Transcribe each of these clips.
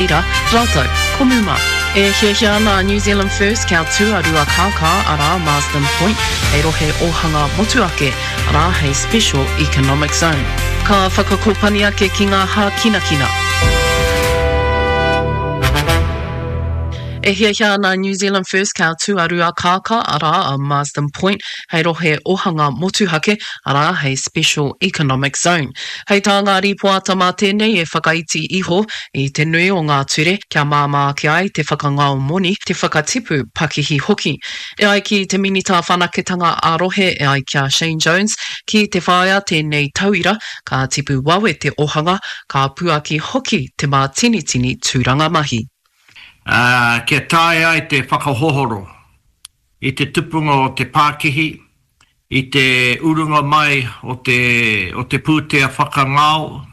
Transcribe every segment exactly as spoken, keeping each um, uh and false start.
Ira, rātou ko Muma. E hiahia ana a New Zealand First kia tū a Ruakākā, arā, Marsden Point, hei rohe ōhanga motuake, arā, hei Special Economic Zone. Ka whakakōpani ake ki ngā hākinakina. E hiahia ana a New Zealand First kia tū a Ruakākā, arā, a Marsden Point, hei rohe ōhanga motuhake, arā, hei Special Economic Zone. Hei tā ngā rīpoata mā tēnei e whakaiti iho i te nui o ngā ture kia māmā ake ai te whakangao moni, te whakatipu pakihi hoki. E ai ki te Minita Whanaketanga ā-Rohe e ai ki a Shane Jones, ki te whāia tēnei tauira, ka tipu wawe te ohanga, ka puaki hoki te mātinitini tūranga mahi. Ā, kia taea ai te whakahohoro i te tupunga o te pākihi, i te urunga mai o te, o te pūtea whakangao,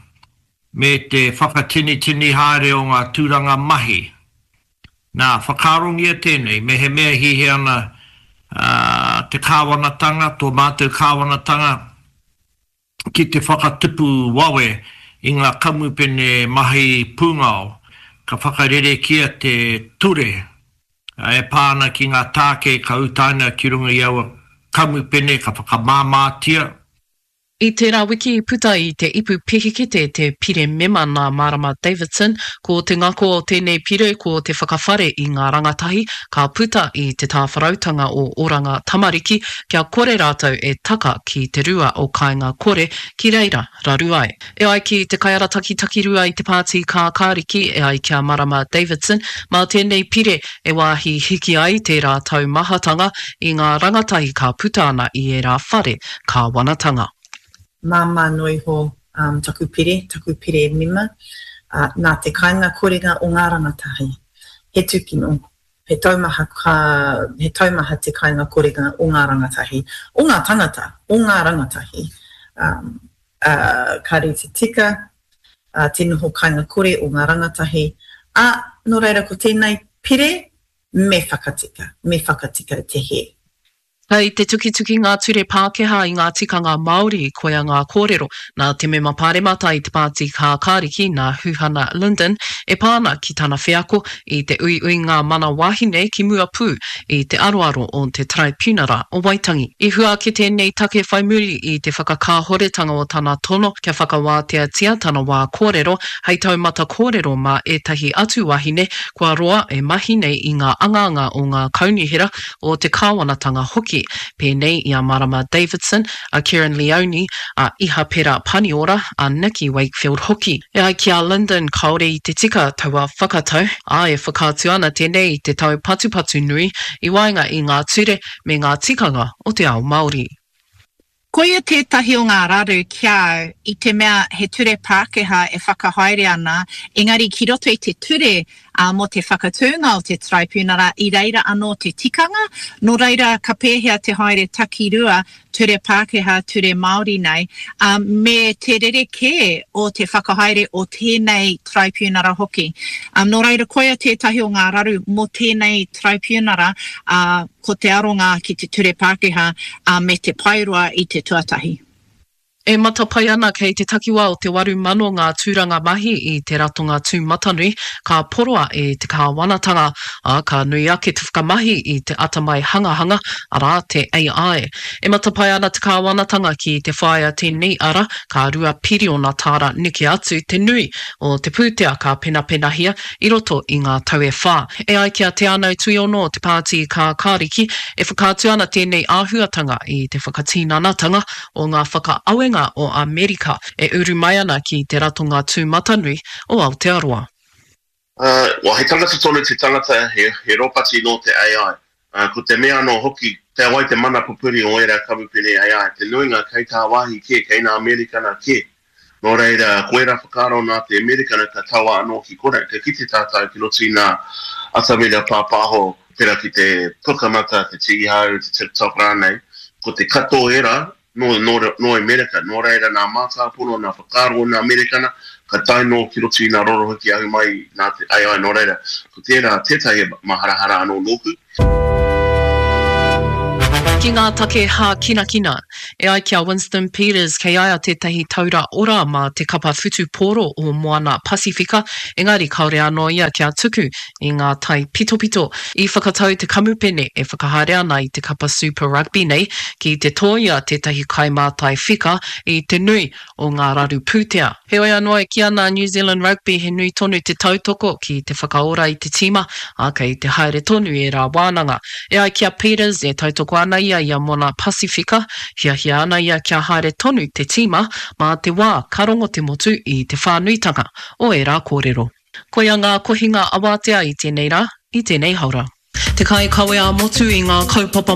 me te whakatinitini haere o ngā tūranga mahi. Nā, whakaarongia tēnei, mehemea hihi ana te kāwanatanga, tō mātou kāwanatanga, ki te whakatupu wawe i ngā kamupene mahi pūngao, ka whakarerekia te ture e pā ana ki ngā tāke ka utaina ki runga i aua kamupene ka whakamāmātia. I tērā wiki i puta i te ipu pihikete te pire mema nā Marama Davidson. Ko te ngako o tēnei pire ko te whakawhare i ngā rangatahi ka puta i te tāwharautanga o Oranga Tamariki kia kore rātou e taka ki te rua o Kāinga Kore ki reira raru ai. E ai ki te kaiarataki takirua i te Pāti Kākāriki e ai ki a Marama Davidson, mā tēnei pire e wāhi hiki ai tērā taumahatanga i ngā rangatahi ka puta ana i ērā whare kāwanatanga. Māmā noa iho taku pire, taku pire mema, nā te kainga korenga o ngā rangatahi. He tūkino, he taumaha, he taumaha te kainga korenga o ngā rangatahi, o ngā tangata, o ngā rangatahi. Kāre te tika, te noho kainga kore o ngā rangatahi, ā, nō reira ko tēnei pire me whakatika, me whakatika te hē. Kei te tukituki ngā ture Pākehā i ngā tikanga Māori, koia ngā kōrero nā te mema pāremata i te Pāti Kākāriki nā Huhana Lyndon e pā ana ki tana wheako i te uiuinga mana wāhine ki mua pū i te aroaro o te Taraipiunara o Waitangi. I hua ake tēnei take whai muri i te whakakāhoretanga o tana tono kia whakawāteatia tana wā kōrero hei taumata kōrero mā ētahi atu wāhine kua roa e mahi nei i ngā angaanga o ngā kaunihera o te kāwanatanga hoki, pēnei i a Marama Davidson, a Kerrin Leoni, a Ihapera Paniora, a Nicky Wakefield hoki. E ai ki a Lyndon kāore i te tika taua whakatau, ā, e whakaatu ana tēnei i te taupatupatu nui i waenga i ngā ture me ngā tikanga o te ao Māori. Koia tētahi o ngā raru ki a au, i te mea he ture Pākehā e whakahaere ana, engari ki roto i te ture mō te whakatūnga o te Taraipiunara i reira anō te tikanga, nō reira ka pēhea te haere takirua, ture Pākehā, ture Māori nei, me te rerekē o te whakahaere o tēnei Taraipiunara hoki. Nō reira koia tētahi o ngā raru mō tēnei Taraipiunara, Ko te aronga ki te ture Pākehā me te paeroa i te tuatahi. E matapae ana kei te takiwā o te waru mano ngā tūranga mahi i te ratonga tūmatanui ka poroa e te kāwanatanga, ā, ka nui ake te whakamahi i te atamai hangahanga, arā, te A I. E matapae ana te kāwanatanga ki te whāia tēnei ara, ka rua piriona tāra neke atu te nui o te pūtea ka penapenahia i roto i ngā tau e whā. E ai ki a Te Anau Tuiono o te Pāti Kākāriki, e whakaatu ana tēnei āhuatanga i te whakatinanatanga o ngā whakaawenga o Amerika e uru mai ana ki te ratonga tūmatanui o Aotearoa. Well, he tangata tonu te tangata, he, he ropati nō te A I. Ko te mea anō hoki, kei a wai te mana pupuri o ērā kamupene A I? Te nuinga kei tāwāhi kē, kei nā Amerikana kē. Nō reira, ko ērā whakaaro nā te Amerikana ka taua anō ki konei. Ka kite tātou ki roto i ngā atamira pāpāho, pērā ki te Pukamata, te Tīhau, te TikTok rānei, ko te katoa ērā nō, nō, nō Amerika. Nō reira, nā mātāpono, nā whakaaro o nā Amerikana, ka tae nō ki roto i ngā rorohiki ahu mai nā te A I. Nō reira, ko tērā tētahi maharahara anō nōku. Ki Ki ngā take hākinakina, e ai ki a Winston Peters kei a ia tētahi taura ora mā te kapa whutupōro o Moana Pasifika, engari kāore anō ia kia tuku i ngā taipitopito. I whakatau te kamupene e whakahaere ana i te kapa Super Rugby nei ki te tōia tētahi kaimātai whika i te nui o ngā raru pūtea. Heoi anō, e kī ana a New Zealand Rugby he nui tonu te tautoko ki te whakaora i te tīma, ā, kei te haere tonu ērā wānanga. E ai ki a Peters, e tautoko ana ia i a Moana Pasifika, hiahia ana ia kia haere tonu te tīma mā te wā ka rongo te motu i te whānuitanga o ērā kōrero. Koia ngā kohinga awatea i tēnei rā, i tēnei haora. Te kaikawe ā-motu i ngā kaupapa